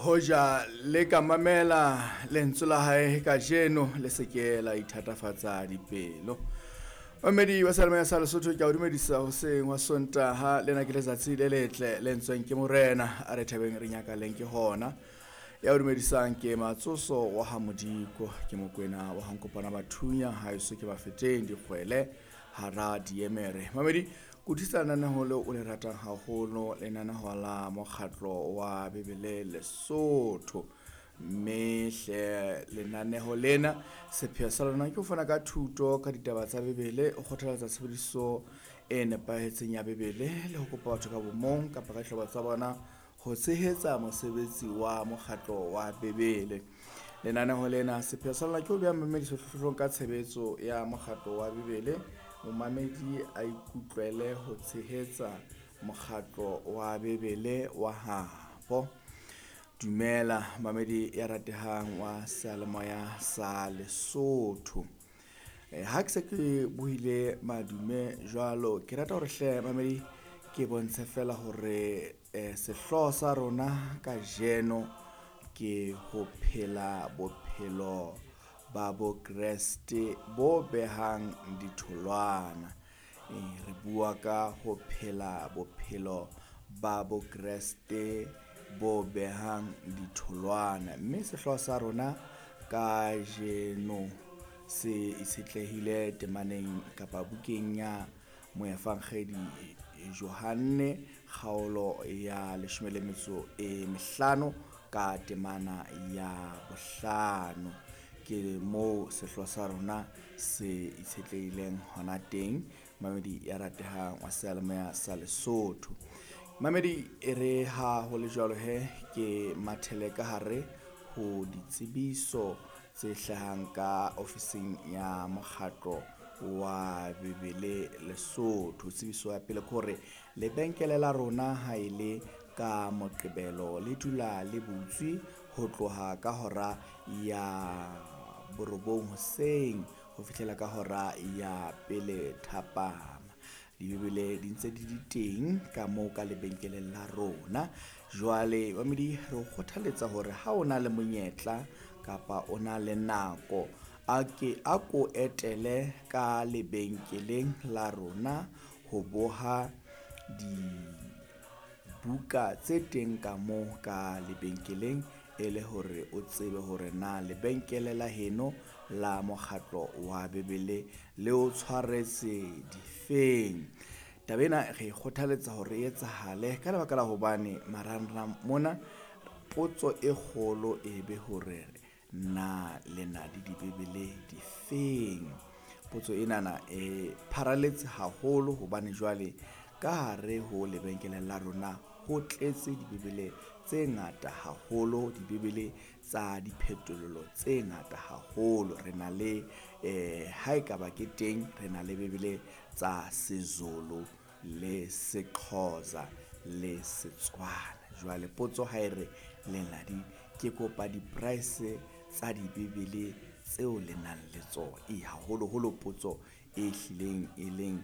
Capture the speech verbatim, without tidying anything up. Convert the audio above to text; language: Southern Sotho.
Hoja le ka mamela lentswe la hae kajeno, le se ke la ithatafatsa dipelo. Mamedi wa Seyalemoya sa Lesotho, ke a o dumedisa hoseng wa Sontaha. Lena ke letsatsi le letle le ntsweng ke Morena, a re thabeng re nyakaleng ke hona. Ya o dumedisang ke Matsoso wa ha Modiko, ke Mokwena wa Hankopana Bathunya, haeso ke Bafeteng dikgwele hara diemere. Mamedi, kutlwisa lenaneho leo o le ratang haholo, lenaneho la mokgatlo wa Bibele Lesotho. Mme hle lenaneho lena sepheo sa lona ke ho fana ka thuto ka ditaba tsa Bibele, o kgothaletsa tshebediso e nepahetseng ya Bibele le ho kopa batho ka bomong kapa ka dihlopha tsa bona ho tshehetsa mosebetsi wa mokgatlo wa Bibele. Lenaneho lena sepheo sa lona ke ho beha momamedi sehlohlolong ka tshebetso ya mokgatlo wa Bibele. Momamedi a ikutlwele ho tshehetsa mokgatlo wa Bibele wa habo. Dumela mamedi ya ratehang wa seyalemoya sa Lesotho. E, ha ke se ke buile madume jwalo, ke rata hore hle mamedi ke bontshe fela hore eh, sehlooho sa rona kajeno ke ho phela bophelo ba Bokreste bo behang ditholwana. E, re bua ka ho phela bophelo ba Bokreste bo behang ditholwana, mme sehlooho sa rona kajeno se itshetlehile temaneng kapa bukeng ya Moefangedi Johanne kgaolo ya leshome le metso e mehlano ka temana ya bohlano. Ke moo sehlooho sa rona se itshetlehileng hona teng, mamedi ya ratehang wa seyalemoya sa Lesotho. Mamedi, e re ha ho le jwalo he, ke mathele ka hare ho ditsebiso tse hlahang ka ofising ya mokgatlo wa Bibele Lesotho. Tsebiso ya pele ke hore lebenkele la rona ha e le ka Moqebelo le dula le butswe ho tloha ka hora ya borobong hoseng ho fihlela ka hora ya pele thapama. Dibibele di ntse di di teng ka moo ka lebenkeleng la rona. Jwale mamedi, re o kgothaletsa hore ha o na le monyetla kapa o na le nako, a ke a ko etele ka lebenkeleng la rona ho boha dibuka tse teng ka moo ka lebenkeleng, e le hore o tsebe hore na lebenkele la heno la mokgatlo wa Bibele le o tshwaretse difeng. Taba ena re kgothaletsa hore e etsahale ka lebaka la hobane marangrang mona potso e kgolo e be hore na le na le dibibele difeng. Potso enana e pharaletse haholo hobane jwale ka hare ho lebenkele la rona ho tletse dibibele tse ngata haholo, dibibele tsa diphetolelo tse ngata haholo. Re na le eh ha ekaba ke teng, re na le bibele tsa Sezulu le Sexhosa le Setswana. Jwale potso ha e re le na di, ke kopa di-price tsa dibibele tseo le nang le tsona. E haholoholo potso e hlileng e leng